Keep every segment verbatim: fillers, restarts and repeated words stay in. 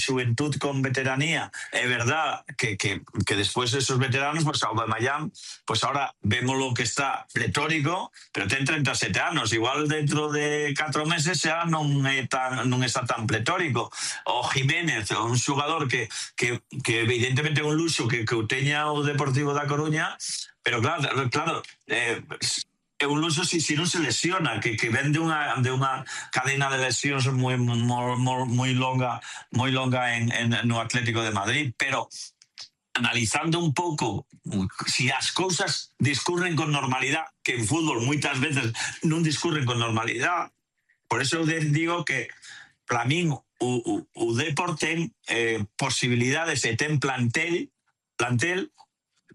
juventud con veteranía. Es verdad que, que, que después de esos veteranos, pues Aubameyang, pues ahora vemos lo que está pletórico, pero ten treinta e sete anos, igual dentro de catro meses xa non é tan, non está tan pletórico. O Jiménez, un xogador que, que, que evidentemente é un luxo que, que o teña o Deportivo da Coruña, pero claro, claro, eh, é un luxo si, si non se lesiona, que, que ven de unha, de unha cadena de lesións moi, moi, moi longa, moi longa en, en, no Atlético de Madrid, pero analizando un pouco si as cousas discurren con normalidade, que en fútbol moitas veces non discurren con normalidade, por eso digo que para min o, o, o Depor ten eh, posibilidades e ten plantel plantel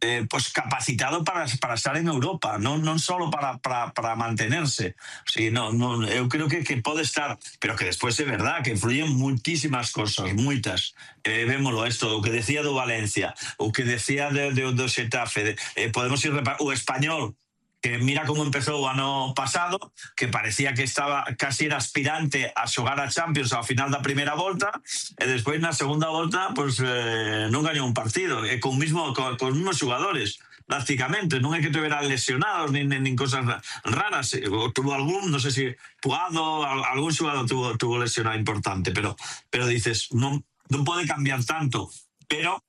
Eh, pues capacitado para, para estar en Europa, non, non solo para, para, para mantenerse. Sí, no, no, eu creo que, que pode estar, pero que despois é verdad que influyen muitísimas cosas, moitas. Eh, vémoslo esto, o que decía do Valencia, o que decía de, de, do Xetafe, de, eh, podemos ir o Español, que mira como empezou o ano pasado, que parecía que estaba casi era aspirante a xogar a Champions ao final da primeira volta, e despois na segunda volta pues, eh, non gañou un partido, e con, mismo, con, con os mismos xogadores, prácticamente, non é que tuveran lesionados nin, nin cosas raras, o tuvo algún, non sei se Puado, algún xogador tuvo, tuvo lesionado importante, pero, pero dices, non, non pode cambiar tanto, pero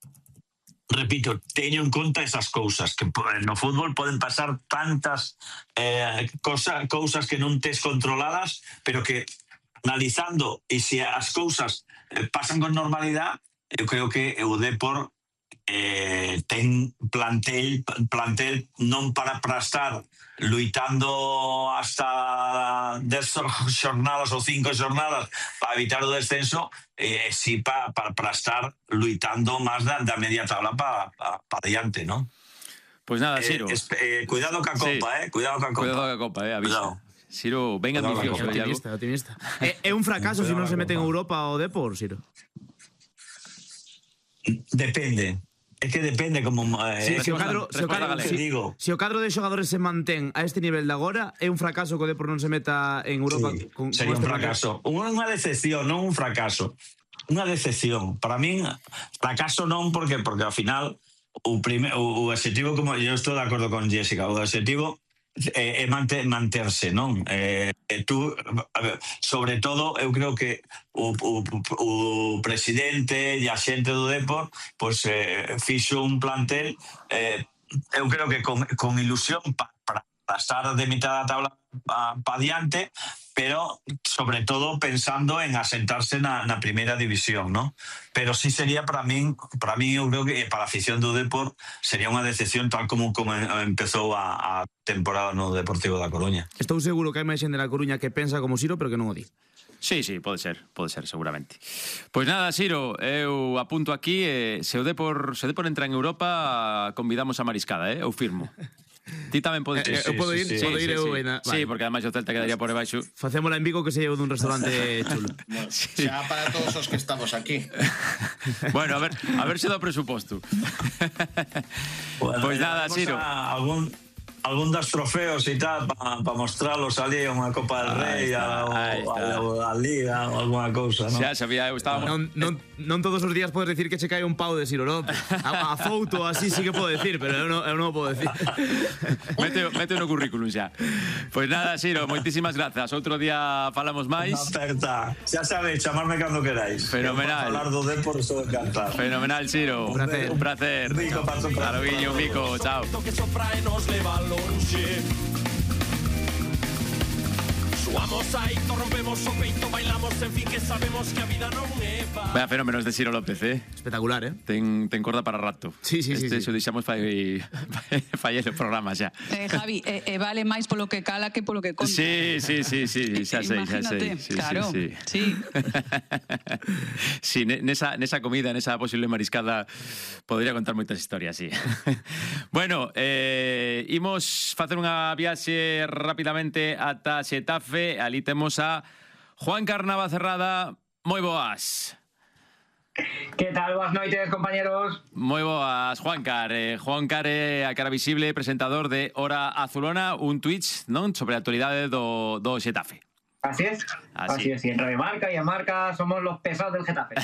repito, teño en conta esas cousas, que no fútbol poden pasar tantas eh, cosa, cousas que non tes controladas, pero que analizando e se as cousas eh, pasan con normalidade, eu creo que o Depor eh, ten plantel plantel non para, para estar luitando hasta dez xornadas ou cinco xornadas para evitar o descenso, eh, sí para, para, para estar luitando máis da, da media tabla para pa, pa diante, ¿no? Pues nada, Siro. Eh, eh, cuidado ca copa, sí. eh? Cuidado ca copa. Cuidado ca copa, eh? Avisa. Siro, ben ambicioso. Optimista, optimista. É, é un fracaso se non se mete en Europa o Depor, Siro? Depende. É que depende como eh, sí, se o cadro, se o cadro, si, digo. Se o cadro de xogadores se mantén a este nivel de agora, é un fracaso que o Depor non se meta en Europa. Sí, con, sería con un fracaso. Unha decepción, non un fracaso. Unha decepción. Para min, fracaso non, porque porque ao final o, prime, o, o objetivo, como eu estou de acordo con Jessica, o objetivo é, é manterse, non? Eh, tú, sobre todo, eu creo que o, o, o presidente e a xente do Depor pois, eh, fixo un plantel eh, eu creo que con, con ilusión para pa, pa estar de mitad da tabla pa, pa diante, pero sobre todo pensando en asentarse na, na primeira división, ¿no? Pero sí sería para min, para min eu creo que para a afición do Depor sería unha decepción tal como, como empezou a, a temporada no Deportivo da Coruña. Estou seguro que hai máis xente na Coruña que pensa como Siro, pero que non o di. Sí, sí, pode ser, pode ser, seguramente. Pois nada, Siro, eu apunto aquí, eh, se o Depor, se o Depor entra en Europa, convidamos a Mariscada, eh? Eu firmo. Ti tamén podes ir. Eh, eu podo ir, sí, podo sí, ir sí, eu sí. na, sí, porque ademais o Celta quedaría por debaixo. Facémola en Vigo que se lleve dun restaurante chulo. Bueno, sí. Xa para todos os que estamos aquí. Bueno, a ver, a ver se dá o presuposto. Bueno, pois nada, Siro. Algún algún dos trofeos e tal para pa mostralos ali a unha Copa del Rei, a, a, a Liga ou alguna cousa, non? Xa sabía, eu estaba... Non, non, non todos os días podes decir que che cae un pau de Siro López. A, a foto así sí que podo decir, pero eu non, eu non o podo decir. Mete, mete no currículum xa. Pois nada, Siro, moitísimas grazas. Outro día falamos máis. Unha aperta. Xa sabéis, chamarme cando queráis. Fenomenal. Falar do Depor, estou encantado. Fenomenal, Siro. Un placer. Un placer. Un bico para tu Claro, guiño, un bico. Chao. Suamos aí, rompemos o peito, bailamos, en fin, que sabemos que a vida non é pa... Vaya fenómenos de Siro López, eh? Espectacular, eh? Ten, ten corda para rato. Sí, sí, este, sí, sí. Este deixamos fai fai el programa xa. Eh, Javi, e eh, eh, vale máis polo que cala que polo que conta. Sí, sí, sí, sí, xa sei, xa sei. Sí, claro, sí, sí. sí. Sí, nesa, nesa comida, nesa posible mariscada podría contar moitas historias, sí. Bueno, eh, imos facer unha viaxe rapidamente ata Xetafe. Ali temos a Juan Carnava Cerrada. Moi boas. Que tal? Boas noites, compañeros. Moi boas, Juancar. Eh, Juancar é a cara visible, presentador de Hora Azulona, un Twitch, non? Sobre a actualidade do, do Xetafe. Así es. Así, Así es. Y en Radio Marca y en Marca somos los pesados del Getafe.